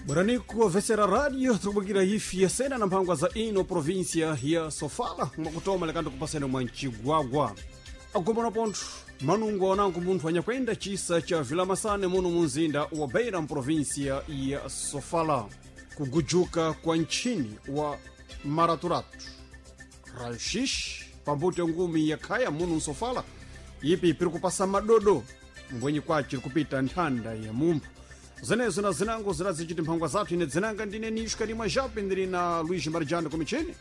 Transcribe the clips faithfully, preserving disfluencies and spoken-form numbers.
Bwananiku vesera radio tikubukira ifi yasena na mphangwa za ino província ya Sofala mwakutoma lekando kupasene mwa Mchigwagwa agomana pontho manungo anango munthu anyakwenda chisa cha Vilamasane muno munzinda wa Beira mprovíncia ya Sofala kugujuka kwa ntchini wa Maraturatu raio-x pambuto ngumi ya khaya muno msofala ipi piri kupasa madodo mbwenyi kwaci kupita nthanda ya mumpho zenezo na zinango zirazichiti mphangwa zathu ine dzinanga ndine nishka limwe jape ndili na luigi marijano kumichini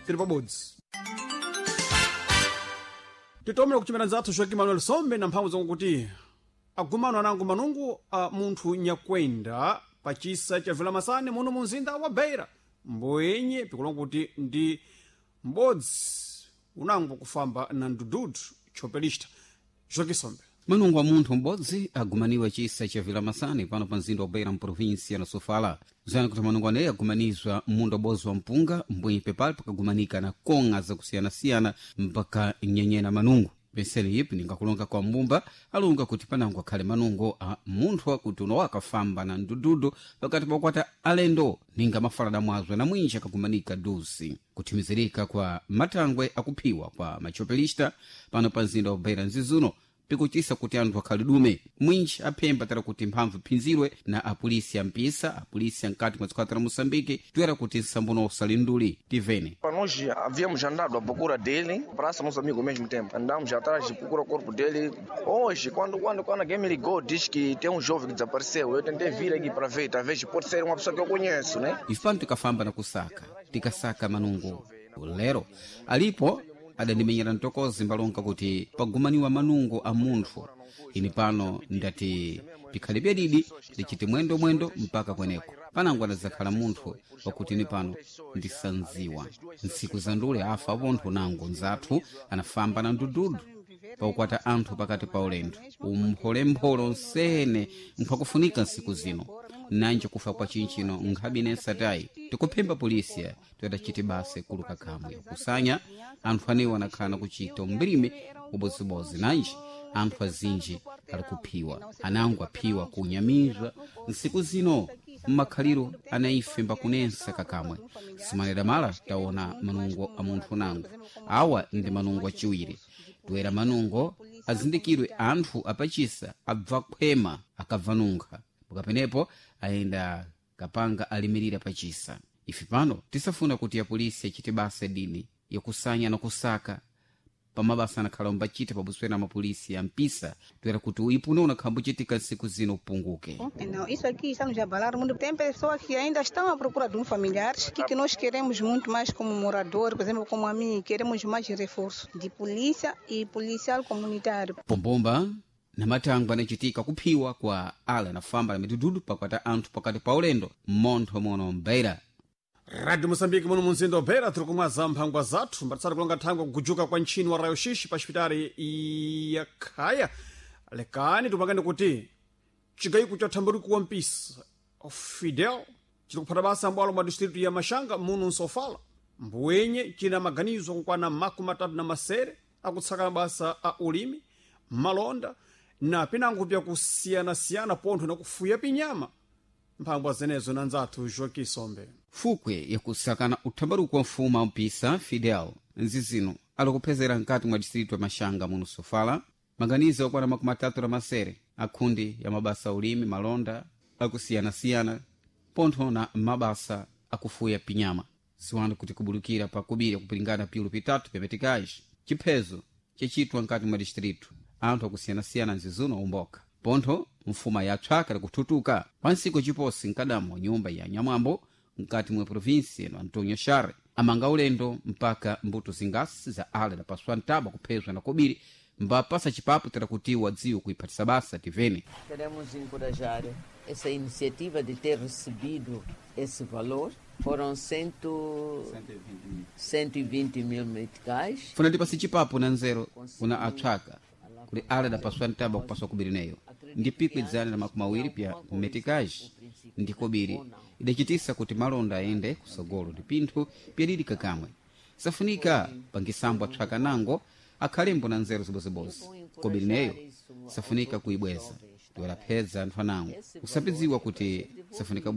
tili pabodzi titomera kuchimera nzathu joaquim manuel sombe na mphamvu zakuti agumano anango manungu a munthu nyakwenda pachisa cha vilamasane muno munzinda wa beira mboyenye pikulonga kuti ndi m'bodzi unango kufamba na ndududu chopelista joaquim sombe Manungo wa munthu m'bodzi agumaniwa chisa cha Vilamasane pano pa mzinda wa Beira mprovíncia na Sofala. Zani kuti manungo aneyi agumanizwa munda ubodzi wa mpunga mbwenyi pepali pakagumanika na kong'a zakusiyanasiyana mpaka nyenyena manungo. Penseli ipi ningakulonga kwa mbumba alunga kuti panango akhale manungo a munthu akuti uno akafamba na ndududu pakati pakukwata alendo ninga mafalada mwazwe na mwinji akagumanika dusi kuthimizirika kwa matangwe akuphiwa kwa machopelista pano pa mzinda wa Beira nzizuno pikuchisa kuti anthu akhale dume mwinji aphemba tara kuti mphamvu iphinzirwe na apolisi ampisa apolisi ankati mwa dziko la moçambique toera kuti nsambono usalinduli tivene Para nós havíamos andado à procura dele, praça nosso amigo ao mesmo tempo. Andamos atrás de procura o corpo dele. Hoje, quando, quando, quando alguém me ligou, diz que tem um jovem que desapareceu. Eu tentei vir aqui para ver, talvez pode ser uma pessoa que eu conheço, né? ife pano tikafamba na kusaka tikasaka manungo lero alipo adandimenyera mtokozi mbalonga kuti pagumaniwa manungo a munthu ini pano ndati pikhale byadidi ndichiti mwendo mwendo mpaka kweneko panango adazakhala munthu wakuti ini pano ndisanziwa ntsiku za ndule afa pontho nango nzathu anafamba na ndududu pakukwata anthu pakati pa ulendo umpholempholo nsene nkhwakufunika nsiku zino nanje kufa kwa chinchino nkhabi nensatayi tikuphemba polisiya toyatachiti basa ikulu kakamwe kusanya anthu anewo anakhala nakuchita umbirime ubodzibozi nanji anthu azinji ali kuphiwa anango aphiwa kunyamizwa nsiku zino mmakhaliro anaife mbakunensa kakamwe simanera mala taona manungo a munthu nango awa ndi manungo achiwiri toera manungo azindikirwe anthu apachisa abva khwema akabva nunkha pakapenepo ayenda kapanga alimirira pachisa ife pano tisafuna kuti apolisi achite basa dini yakusanya na kusaka pamabasa anakhala umbachita pabuswera mapolisi ampisa toera kuti uipuno unakhala mbuchitika nsiku zino upunguke Não, isso aqui está nos abalar muito. Tem pessoas que ainda estão à procura de um familiar, que, que nós queremos muito mais como morador, por exemplo, como a mim, queremos mais reforço de polícia e policial comunitário. pombomba na matangwe anachitika kuphiwa kwa ala anafamba na midududu pakwata anthu pakati pa ulendo mmontho mono mbeira radio moçambique muno munzinda wa beira tiri kumwaza mphangwa zathu mbatsati kulonga thangwe kugujuka kwa ntchini wa raio-x pa xipitali ya khaya lekani tipangane kuti cigayiko cha thambaruku wa mpisa fidel ciri kuphata basa mbwalo mwa distritu ya maxanga muno nsofala mbuwenye cina maganizo akukwana makumi atatu na masere akutsaka mabasa a ulimi malonda na pinango pyakusiyanasiyana pontho na kufuya pinyama mphangwa zenezo na nzathu joaquim sombe fukwe yakusakana uthambaruko wa mfumu ampisa fidel nzizino alikuphezera mkati mwa distritu ya maxanga muno sofala maganizo akwana makumi atatu na masere akhundi ya mabasa a ulimi malonda akusiyanasiyana pontho na mabasa akufuya pinyama ziwanda kuti kubulukira pa kubiri kupilingana piulu pitatu pyametikaji chiphezo chachitwa mkati mwa distritu anthu akusiyanasiyana nzizuno umboka pontho mfuma yatswaka likuthutuka pansiku chiposi nkadamo nyumba ya nyamwambo mkati mwa provinsi eno antonio share amanga ulendo mpaka mbuto zingasi za ale na paswa ntaba kuphezwa na kobiri mbapasa chipapo tera kuti wadziwe kuiphatisa basa tivene Queremos encorajar essa iniciativa de ter recebido esse valor. Foram cento, cento e vinte mil meticais. funa ndipasi chipapo na nzero kuna atswaka kuti ale adapaswa ntaba kupaswa kobiri neyo ndi pikwi dzana na makumi awiri pya metikaji ndi kobiri idachitisa kuti malonda ayende kusogolo ndi pinthu pyadidi kakamwe safunika pangisambo atswaka nango akhalembo na nzeru zibozibozi kobiri neyo safunika kuibweza tiwalaphedza anthu anango usapidziwa kuti safunika